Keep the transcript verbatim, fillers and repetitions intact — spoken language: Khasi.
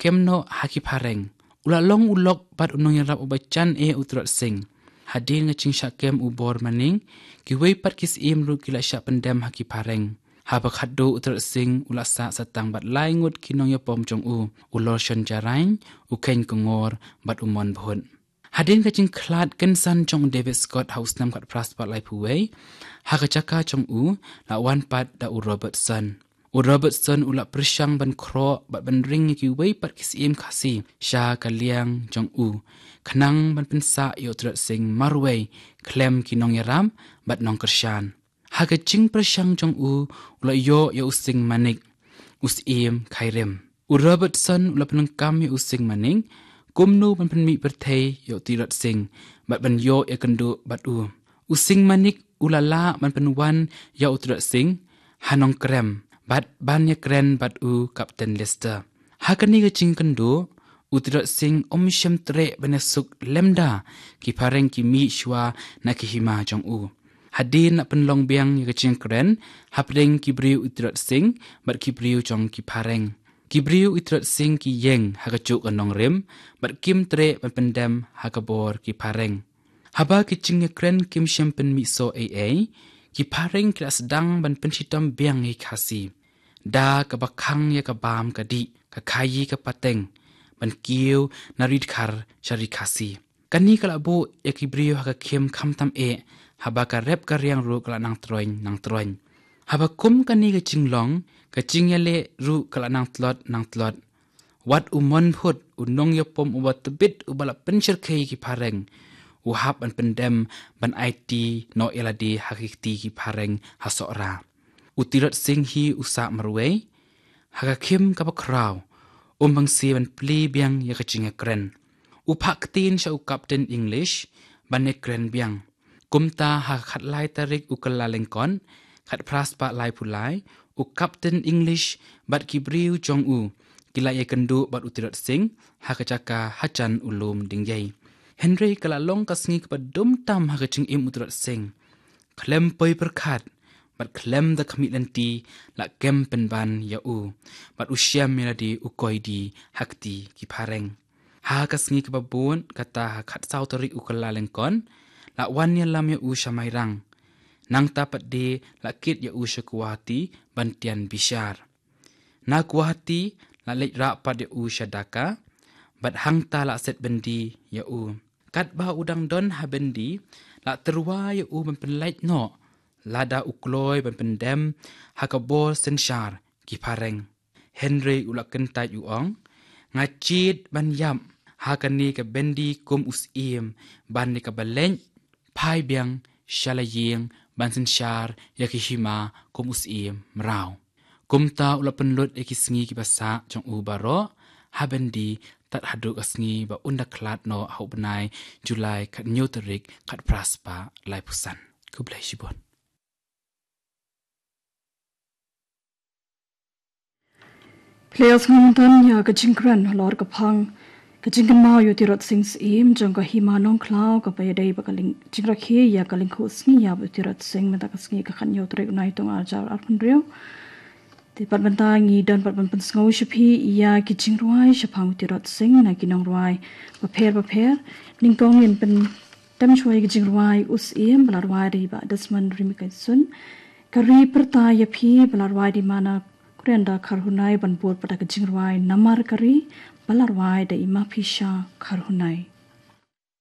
kem noh ha ki phareng. U la long u lok bad u nongïarap uba jan eh u Tirot Sing. Hadien ka jingshah kem u Bor Maning, kiwei pat ki syiem ruh ki la shah pyndem ha ki phareng. Haba khatduh u Tirot Sing u la sah sa tang bad lai ngut ki nongïapom jong u, u Lorshon Jarain, u Khein Kongor bad u Mon Bhut. Hadien ka jingkhlad kynsan jong u David Scott ha u snem khatphra spah laiphew wei, ha ka jaka jong u la wan pat da u Robertson. U Robertson u la pyrshang ban khroh bad ban ring ïa kiwei pat ki syiem Khasi sha ka liang jong u, khnang ban pynsah ïa u Tirot Sing marwei khlem ki nongïarap bad nongkyrshan. Ha ka jingpyrshang jong u, u la ïoh ïa u Sing Manik, u syiem Khyrim. U Robertson u la pyndonkam ïa u Sing Manik kumno ban pynmih pyrthei ïa u Tirot Sing bad ban ïoh ïakynduh bad u. U Sing Manik u la lah ban pynwan ïa u Tirot Sing ha Nongkrem bad ban ïakren bad u Captain Lister. Ha kane ka jingkynduh, u Tirot Sing um shym treh ban ïasuk lymda ki phareng ki mih shuwa na ki hima jong u. Hadien la pynlong biang ïa ka jingkren hapdeng ki briew u Tirot Sing bad ki briew jong ki phareng. Ki briew u Tirot Sing ki ïeng ha kajuh ka nongrim bad kim treh ban pyndem ha ka bor ki phareng. Haba ki jingïakren kim shym pynmih soh ei ei, ki phareng ki la sdang ban pynshitom biang ïa ki Khasi. Da kaba khang ïa ka bam ka dih, ka khaïi ka pateng, ban kiew na Ri Dkhar sha Ri Khasi. Kane ka la buh ïa ki briew ha ka khim khamtam eh, haba ka rep ka riang ruh ka la nang troiñ nang troiñ. Haba kum kane ka jinglong, ka jingïaleh ruh ka la nang tlot nang tlot. Wat u Mon Bhut, u nongïapom uba tbit uba la pynshyrkhei ïa ki phareng, u hap ban pyndem ban aiti noh ïalade ha ki kti ki phareng ha Sohra. U Tirot Sing hi u sah marwei, ha ka khim kaba khraw, um bang seh ban plie biang ïa ka jingïakren. U phah ktien sha u Captain English ban ïakren biang. Kumta ha ka khatlai tarik u Kyllalyngkot, khatphra spah laiphew lai, u Captain English bad ki briew jong u ki la ïakynduh bad u Tirot Sing ha ka jaka hajan u Lum Dingïei. Hynrei ka la long ka sngi kaba dum tam ha ka jingim u Tirot Sing. Khlem poi pyrkhat bad khlem da khmih lynti, la kem pynban ïa u bad u shem ïalade u koidi ha kti ki phareng. Ha ka sngi kaba bud, kata ha khatsaw tarik u Kyllalyngkot, la wan ïalam ïa u sha Mairang. Nangta pat de la kit ïa u sha Guwahati ban tian bishar. Na Guwahati la leit rah pat ïa u sha Dhaka, bad hangta la set byndi ïa u. Katba u dang don ha byndi, la tyrwa ïa u ban pynlait noh, lada u kloi ban pyndem ha ka bor synshar ki phareng. Hynrei u la kyntait u ong, nga jied ban ïap ha kane ka byndi kum u syiem, ban ne kaba leit phai biang sha la ïing ban synshar ïa ki hima kum u syiem mraw. Kumta u la pynlut ïa ki sngi kiba sah jong u baroh ha byndi tad haduh ka sngi ba un da khlad noh ha u bnai July khathynñiew tarik khatphra spah laiphew san. Khublei shibun. Phi la ïohsngew mynta ïa ka jingkren halor ka phang ka jingkynmaw ïa u Tirot Sing Syiem jong ka Hima Nongkhlaw, kaba ïadei bad ka lyng-, jingrakhe ïa ka lyngkhuh sngi ïap u Tirot Sing mynta ka sngi ka khathynñiew tarik u Naitung arhajar arphew hynriew. Te pat mynta ngi don pat ban pynsngew sha phi ïa ki jingrwai shaphang u Tirot Sing na ki nongrwai bapher bapher. Nyngkong ngin pyntem shuwa ïa ki jingrwai U Syiem ba la rwai da i Bah Desmond Rymbui Kaisun. Ka Ri Pyrta ïa Phi ba la rwai da i Mana Kurianda Kharhunai, ban bud pat da ka jingrwai Namar ka Ri ba la rwai da i Maphisha Kharhunai.